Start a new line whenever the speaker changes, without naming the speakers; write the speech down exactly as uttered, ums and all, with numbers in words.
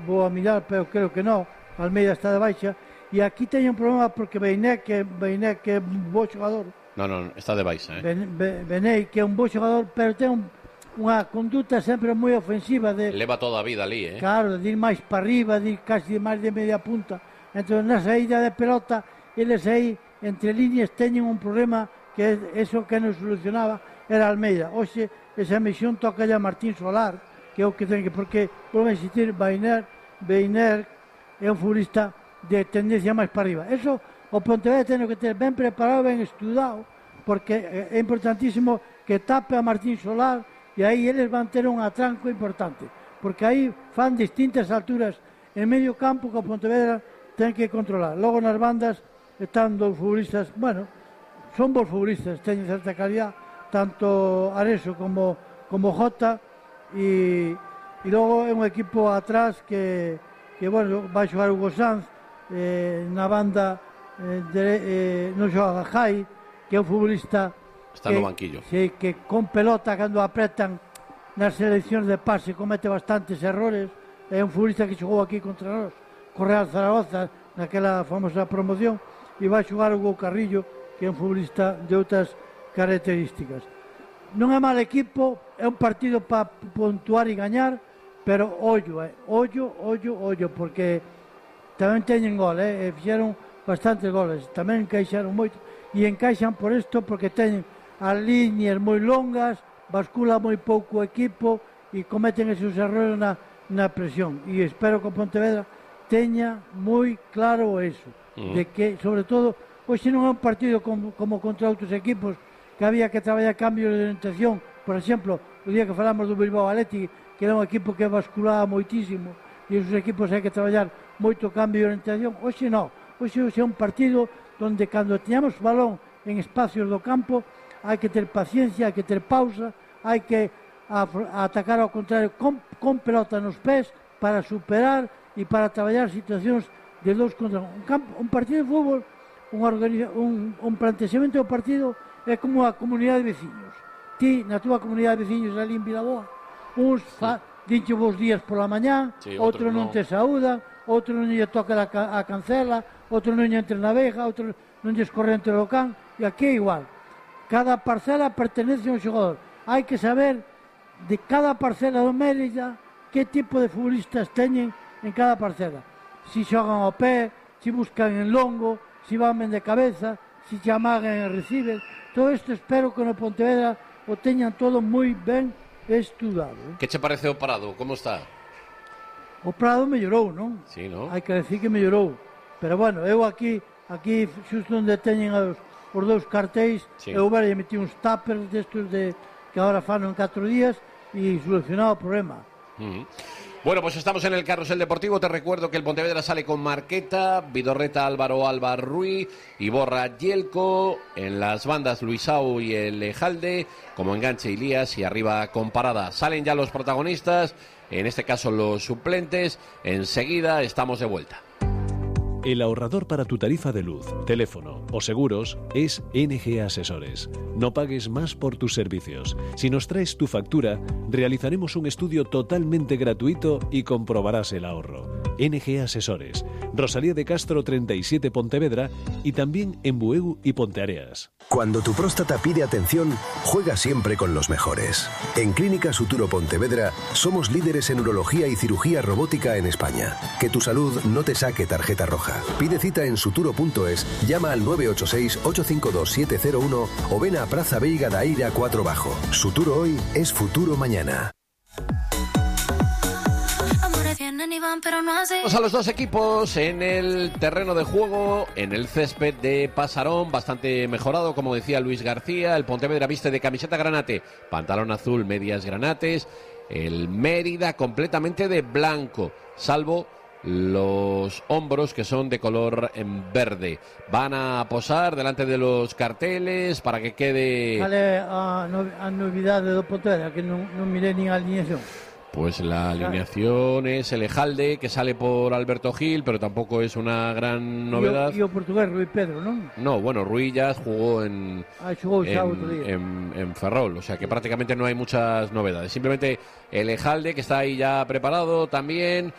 vou a mirar, pero creo que non. Almeida está de baixa. E aquí teño un problema porque Beiné, que, Beiné, que é un bo xogador.
No, no, está de baixa, eh?
Ben, ben, Bené, que é un bo xogador, pero ten un, unha conduta sempre moi ofensiva. De,
leva toda a vida ali, eh?
Claro, de ir máis para arriba, de ir casi máis de media punta. Entón, na saída de pelota, eles aí, entre líneas, teñen un problema que é eso que non solucionaba era Almeida. Oxe, esa misión toca ya Martín Solar, que é o que ten que, porque, por insistir, Beiner, Beiner é un futbolista de tendencia máis para arriba. Eso o Pontevedra ten que ter ben preparado, ben estudado, porque é importantísimo que tape a Martín Solar e aí eles van ter un atranco importante, porque aí fan distintas alturas en medio campo que o Pontevedra ten que controlar. Logo nas bandas están dos futbolistas, bueno, son bons futbolistas, teñen certa calidad, tanto Areso como, como Jota, e, e logo é un equipo atrás que, que bueno, vai xogar Hugo Sanz, eh, na banda eh, de, eh, non xoga Jai, que é un futbolista
está
que,
no banquillo,
sí, que con pelota cando apretan nas seleccións de pase comete bastantes errores. É un futbolista que xogou aquí contra nós, Correal Zaragoza, naquela famosa promoción, e vai xogar Hugo Carrillo, que é un futbolista de outras características. Non é mal equipo, é un partido para puntuar e gañar, pero ollo, eh, ollo, ollo, ollo, porque tamén teñen gol, eh, e fixeron bastantes goles, tamén encaixaron moito, e encaixan por isto porque teñen as líneas moi longas, bascula moi pouco o equipo e cometen esos errores na, na presión. E espero que o Pontevedra teña moi claro eso, uh-huh. de que, sobre todo, hoxe non é un partido como, como contra outros equipos, que había que traballar cambios de orientación. Por exemplo, o día que falamos do Bilbao Athletic, que era un equipo que basculaba moitísimo, e esos equipos hai que traballar moito cambio de orientación. Hoxe non, hoxe, hoxe é un partido onde cando teñamos balón en espacios do campo hai que ter paciencia, hai que ter pausa, hai que a, a atacar ao contrario con, con pelota nos pés para superar e para traballar situacións de dous contra un. Un, campo, un partido de fútbol, un, organiza, un, un plantexamento do partido é como a comunidade de veciños. Ti, na túa comunidade de veciños ali en Vilaboa, uns fa, dinche vos días pola mañá, sí, outro non te saúdan, outro non lle toca a, a cancela, outro non lle entre na veja, outro non lle escorre entre o can, e aquí é igual. Cada parcela pertenece a un xogador. Hai que saber de cada parcela do Mérida que tipo de futbolistas teñen en cada parcela. Si xogan ao pé, si buscan en longo, si van ben de cabeza, si se amagan en reciben. Todo isto espero que no Pontevedra o teñan todo moi ben estudado. Eh?
Que che parece o Prado? Como está?
O Prado mellorou, non?
Sí, non?
Hai que decir que mellorou. Pero bueno, eu aquí, aquí xusto onde teñen os, os dous cartéis, sí. Eu verei metí uns tuppers destos de, que agora fan en catro días e solucionado o problema.
Uh-huh. Bueno, pues estamos en el Carrusel Deportivo. Te recuerdo que el Pontevedra sale con Marqueta, Vidorreta, Álvaro, Alba, Ruiz, Iborra, Yelko, en las bandas Luisao y el Ejalde, como enganche Ilías y arriba con Parada. Salen ya los protagonistas, en este caso los suplentes. Enseguida estamos de vuelta.
El ahorrador para tu tarifa de luz, teléfono o seguros es N G Asesores. No pagues más por tus servicios. Si nos traes tu factura, realizaremos un estudio totalmente gratuito y comprobarás el ahorro. N G Asesores, Rosalía de Castro treinta y siete Pontevedra y también en Bueu y Ponteareas.
Cuando tu próstata pide atención, juega siempre con los mejores. En Clínica Suturo Pontevedra somos líderes en urología y cirugía robótica en España. Que tu salud no te saque tarjeta roja. Pide cita en suturo punto es, llama al nueve ocho seis, ocho cinco dos, siete cero uno o ven a Praza Veiga da Eira cuatro Bajo. Suturo hoy es futuro mañana.
Vamos a los dos equipos en el terreno de juego, en el césped de Pasarón, bastante mejorado, como decía Luis García. El Pontevedra viste de camiseta granate, pantalón azul, medias granates. El Mérida completamente de blanco, salvo los hombros que son de color en verde. Van a posar delante de los carteles para que quede...
Vale, a, no, a novidade do Pontevedra, que non, non mirei nin a alineación.
Pues la alineación es el Ejalde, que sale por Alberto Gil, pero tampoco es una gran novedad.
E o, o portugués Rui Pedro, ¿no?
No, bueno, Rui ya jugó en,
ah, jugó
en,
otro día.
en, en Ferrol, o sea que prácticamente no hay muchas novedades. Simplemente el Ejalde, que está ahí ya preparado también.